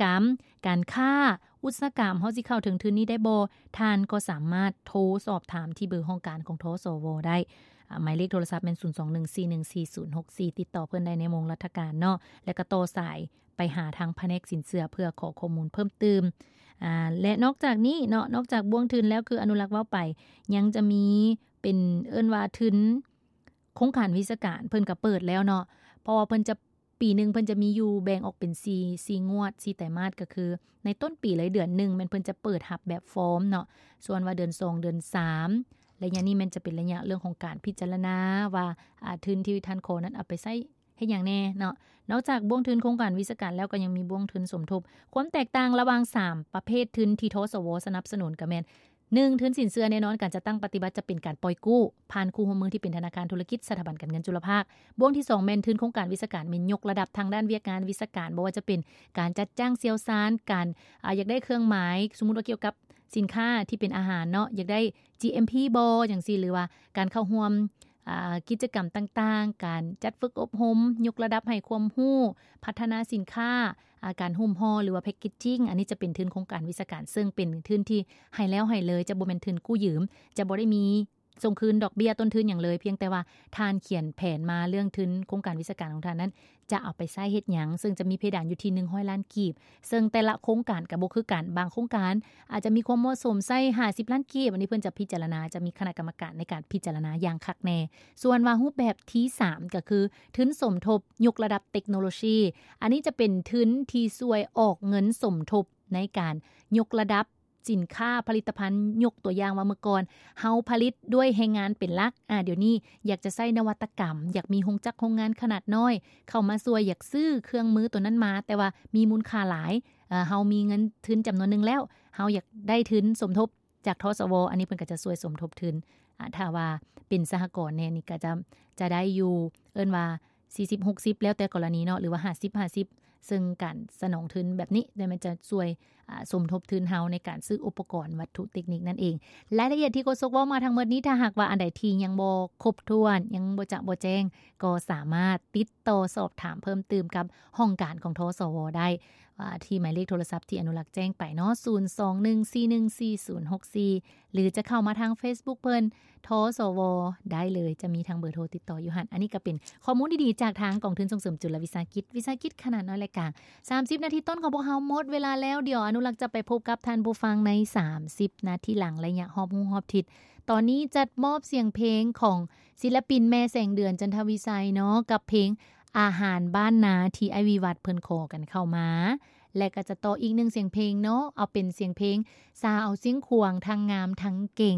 ກຳ, ການຄ້າ, ອຸດສາຫະກຳ, ເຮົາຊິເຂົ້າເຖິງທຶນນີ້ໄດ້ບໍ່? ທ່ານກໍສາມາດໂທສອບຖາມທີ່ເບີຫ້ອງການຂອງ ທສວ ໄດ້. ອາ, ໝາຍເລກໂທລະສັບແມ່ນ ສູນສອງໜຶ່ງສີ່ໜຶ່ງສີ່ສູນຫົກສີ່ ຕິດຕໍ່ເພິ່ນໄດ້ໃນໂມງລັດຖະການເນາະ ແລະ ກໍຕໍ່ສາຍໄປຫາທາງພະແນກສິນເຊື່ອເພື່ອຂໍຂໍ້ມູນເພີ່ມຕື່ມ. ອາ, ແລະ ນອກຈາກນີ້ເນາະ, ນອກຈາກບ່ວງທຶນແລ້ວ ຄືອະນຸລັກເວົ້າໄປ, ຍັງຈະມີເປັນເອີ້ນວ່າທຶນໂຄງການວິຊາການ ເພິ່ນກໍເປີດແລ້ວເນາະ, ເພາະວ່າເພິ່ນຈະ ປີໜຶ່ງເພິ່ນຈະມີຢູ່ແບ່ງອອກເປັນສີ່ ສີ່ງວດ ສີ່ໄຕມາດ ກໍຄືໃນຕົ້ນປີເລີຍ ເດືອນໜຶ່ງແມ່ນເພິ່ນຈະເປີດຮັບແບບຟອມເນາະ, ສ່ວນວ່າເດືອນສອງ ເດືອນສາມ ໄລຍະນີ້ແມ່ນຈະເປັນໄລຍະເລື່ອງຂອງການພິຈາລະນາວ່າ ອາ, ທຶນທີ່ທ່ານຂໍນັ້ນເອົາໄປໃຊ້ເຮັດຫຍັງແດ່ເນາະ. ນອກຈາກບ່ວງທຶນໂຄງການວິຊາການແລ້ວ ກໍຍັງມີບ່ວງທຶນສົມທົບ. ຄວາມແຕກຕ່າງລະຫວ່າງສາມປະເພດທຶນທີ່ ທສວ ສະໜັບສະໜູນກໍແມ່ນ ໜຶ່ງ ທຶນສິນເຊື່ອແນ່ນອນການຈັດຕັ້ງປະຕິບັດຈະເປັນການປ່ອຍກູ້ ຜ່ານຄູ່ຮ່ວມມືທີ່ເປັນທະນາຄານທຸລະກິດ ສະຖາບັນການເງິນຈຸລະພາກ. ບ່ວງທີສອງແມ່ນທຶນໂຄງການວິຊາການ ແມ່ນຍົກລະດັບທາງດ້ານວຽກງານວິຊາການ ບໍ່ວ່າຈະເປັນການຈັດຈ້າງຊ່ຽວຊານ, ການ ອາ, ຢາກໄດ້ເຄື່ອງໝາຍ ສົມມຸດວ່າກ່ຽວກັບສິນຄ້າທີ່ເປັນອາຫານເນາະ, ຢາກໄດ້ GMP ບໍ່ ຈັ່ງຊີ້ ຫຼືວ່າການເຂົ້າຮ່ວມ ອາ, ກິດຈະກຳຕ່າງໆ, ການຈັດຝຶກອົບຮົມ, ຍົກລະດັບໃຫ້ຄວາມຮູ້, ພັດທະນາສິນຄ້າ, ອາ, ການຫຸ້ມຫໍ່ ຫຼືວ່າ packaging. ອັນນີ້ຈະເປັນທຶນໂຄງການວິຊາການ ເຊິ່ງເປັນທຶນທີ່ໃຫ້ແລ້ວໃຫ້ເລີຍ, ຈະບໍ່ແມ່ນທຶນກູ້ຢືມ, ຈະບໍ່ໄດ້ມີສົ່ງຄືນດອກເບ້ຍຕົ້ນທຶນຫຍັງເລີຍ, ພຽງແຕ່ວ່າທ່ານຂຽນແຜນມາເລື່ອງທຶນໂຄງການວິຊາການຂອງທ່ານນັ້ນ ຈະເອົາໄປໃຊ້ເຮັດຫຍັງ, ເຊິ່ງຈະມີເພດານຢູ່ທີ່ໜຶ່ງຮ້ອຍລ້ານກີບ, ເຊິ່ງແຕ່ລະໂຄງການກໍບໍ່ຄືກັນ, ບາງໂຄງການອາດຈະມີຄວາມເໝາະສົມໃຊ້ຫ້າສິບລ້ານກີບ, ອັນນີ້ເພິ່ນຈະພິຈາລະນາ, ຈະມີຄະນະກຳມະການໃນການພິຈາລະນາຢ່າງຄັກແນ່. ສ່ວນວ່າຮູບແບບທີສາມ ກໍຄືທຶນສົມທົບຍົກລະດັບເຕັກໂນໂລຊີ, ອັນນີ້ຈະເປັນທຶນທີ່ຊ່ວຍອອກເງິນສົມທົບໃນການຍົກລະດັບ ສິນຄ້າຜະລິດຕະພັນ, ຍົກຕົວຢ່າງວ່າເມື່ອກ່ອນເຮົາຜະລິດດ້ວຍແຮງງານເປັນຫຼັກ, ອາ, ດຽວນີ້ຢາກຈະໃຊ້ນະວັດຕະກຳ, ຢາກມີໂຮງຈັກໂຮງງານຂະໜາດນ້ອຍເຂົ້າມາຊ່ວຍ, ຢາກຊື້ເຄື່ອງມືຕົວນັ້ນມາ, ແຕ່ວ່າມີມູນຄ່າຫຼາຍ, ເຮົາມີເງິນທຶນຈຳນວນໜຶ່ງແລ້ວ, ເຮົາຢາກໄດ້ທຶນສົມທົບຈາກ ທສວ, ອັນນີ້ເພິ່ນກໍຈະຊ່ວຍສົມທົບທຶນ. ອາ, ຖ້າວ່າເປັນສະຫະກອນແນ່ນີ້ກໍຈະ, ຈະໄດ້ຢູ່, ເອີ້ນວ່າ ສີ່ສິບ ຫົກສິບ ແລ້ວແຕ່ກໍລະນີເນາະ ຫຼືວ່າ ຫ້າສິບ ຫ້າສິບ ເຊິ່ງການສະໜອງທຶນແບບນີ້ ແຕ່ມັນຈະຊ່ວຍ, ອາ, ສົມທົບທຶນເຮົາໃນການຊື້ອຸປະກອນວັດຖຸເຕັກນິກນັ້ນເອງ. ລາຍລະອຽດທີ່ໂຄສົກເວົ້າມາທັງໝົດນີ້ ຖ້າຫາກວ່າອັນໃດທີ່ຍັງບໍ່ຄົບຖ້ວນ, ຍັງບໍ່ຈະບໍ່ແຈ້ງ, ກໍສາມາດຕິດຕໍ່ສອບຖາມເພີ່ມຕື່ມກັບຫ້ອງການຂອງ ທສວ ໄດ້, ອາ, ທີ່ໝາຍເລກໂທລະສັບທີ່ອະນຸລັກແຈ້ງໄປເນາະ, ສູນສອງໜຶ່ງສີ່ໜຶ່ງສີ່ສູນຫົກສີ່ ຫຼືຈະເຂົ້າມາທາງ Facebook ເພິ່ນ ທສວ ໄດ້ເລີຍ, ຈະມີທາງເບີໂທຕິດຕໍ່ຢູ່ຫັ້ນ. ອັນນີ້ກໍເປັນຂໍ້ມູນດີໆຈາກທາງກອງທຶນສົ່ງເສີມຈຸລະວິສາຫະກິດ, ວິສາຫະກິດຂະໜາດນ້ອຍ ແລະ ກາງ. ສາມສິບນາທີຕົ້ນຂອງພວກເຮົາໝົດເວລາແລ້ວ, ດຽວອະນຸລັກຈະໄປພົບກັບທ່ານຜູ້ຟັງໃນສາມສິບນາທີຫຼັງ, ໄລຍະຮອບຮູ້ຮອບທິດ. ຕອນນີ້ຈັດມອບສຽງເພງຂອງສິນລະປິນແມ່ແສງເດືອນ ຈັນທະວິໄຊເນາະ, ກັບເພງ ອາຫານບ້ານນາ ທີ່ອ້າຍວິວັດເພິ່ນຂໍກັນເຂົ້າມາ ແລະ ກໍຈະຕໍ່ອີກໜຶ່ງສຽງເພງເນາະ, ເອົາເປັນສຽງເພງສາວຊຽງຂວາງ ທັງງາມທັງເກັ່ງ.